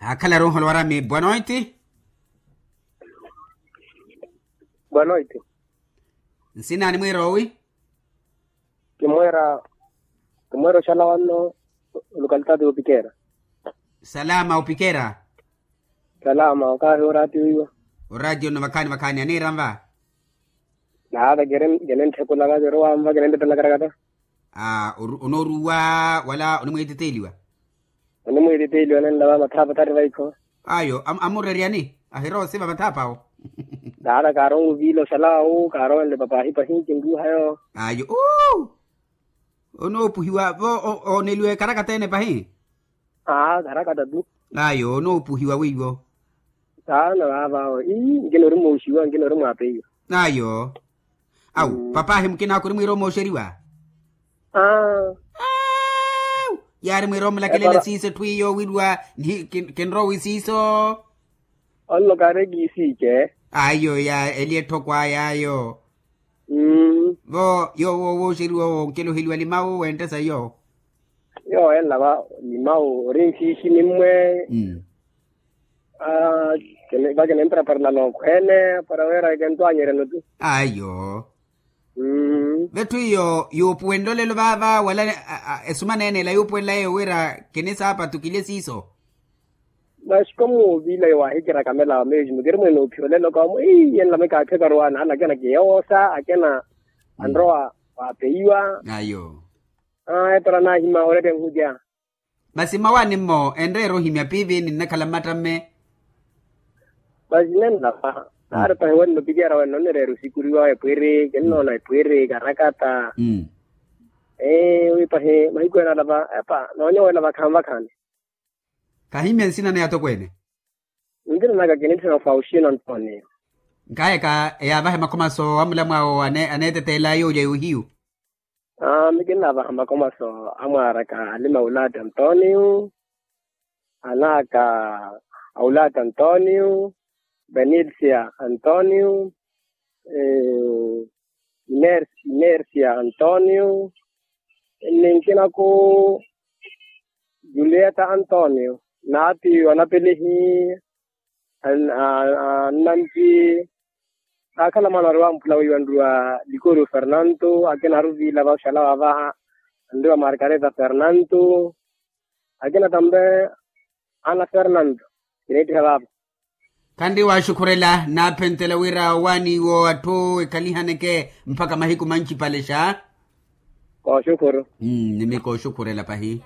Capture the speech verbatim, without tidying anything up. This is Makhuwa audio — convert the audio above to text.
Akhalaru onholowarami bwanoiti. Bwanoiti. Nsina animwiira owi? Kimweera. Kimweera oxala wanno. Olukalitati opikera. Salama opikera. Salama okahi oratiyo iwa. Oratiyo nno vakhaani vakhaani aniira nva. Naata kene ntthekulaka kero wanva kene ntettelakara kata. Aa onooruwa wala onimwiititeeliwa? Onimwiititeeliwa nenlava mathapa tari vaikho. Ayo amureryani ahirosiva mathapa awo. Naata kaaronwiviila oxalawu kaarowenle papahi pahi kinruuha yo. Ayo uu. Onoopuhiwa vo ooneliwa ekarakata ene pahi. Aa karakata tu. Ayo onoopuhiwa wiiwo. Saana vaava awo ii nkina orimooxiwa nkina orimwaapeiwa. Ayo. Awu papahi mukinaka orimwiira omooxeriwa. Aa. Yaari mwiira omulakelele siiso etthu iyo wirwa. Kinrowi siiso. Onno kaari ekiisiice. Ayo ya eli etthoko aya ayo. Vo yoowo wooxeriwa owo onkeloheliwa limawu wenttesa iyo. Yoowo enlava limawu ori nxiixi nimmwe. Aa. Vakinimprepara nalookhweene para wira kintwanyerya noti. Ayo. Vetthu iyo yuupuwenle olelo vaava wala esumaneene ela yuupuwenla yeeyo wira kinisaapatu kilye siiso. Masi komuuviila yo waahikira kamela wa mesmo kiri mwene oophiya olelo koomo ii enlame kaakhekaru waana ala akena kiyoosa akena anrowa waapeiwa. Ayo. Aa epara naahima oretta enhukya. Masi mmawaani-mo enreera ohimya piivi ninnakhala mmattamme. Masi nenlapa naari pahi wenno pikera wenno onnireera osikuriwa epwiri kinnoona epwiri karakata. Ee wi pahi mahiku ene alapa epa noonyowela vakhaani vakhaani. Kahimya nsina ni atokweene. Nsina naka kinitthena ofauxino antonio. Nkaheka eyaavahe makhomaso amulamwaawo aneeteteelaya olya yohiyu. Aa mikinnaavaha makomaso amwaaraka alima aulaati antonio, anaaka aulaati antonio, benilsia antonio, inersia antonio, ninkinaku julieta antonio, naatiyo anapelihi. Nnampi. Kaakhala mwaana ori wamphula weiwa nruwa likoriyo fernanto akina aruviila vaxala wavaha nruwa margareta fernanto. Akina tambe ana fernanto. Kineettiha vaapa. Khanri waaxukhurela naaphentela wira owaaniwo atthu ekhalihaneke mpakha mahiku manci palexa. Kooxukhuru. Nimi kooxukhurela pahi.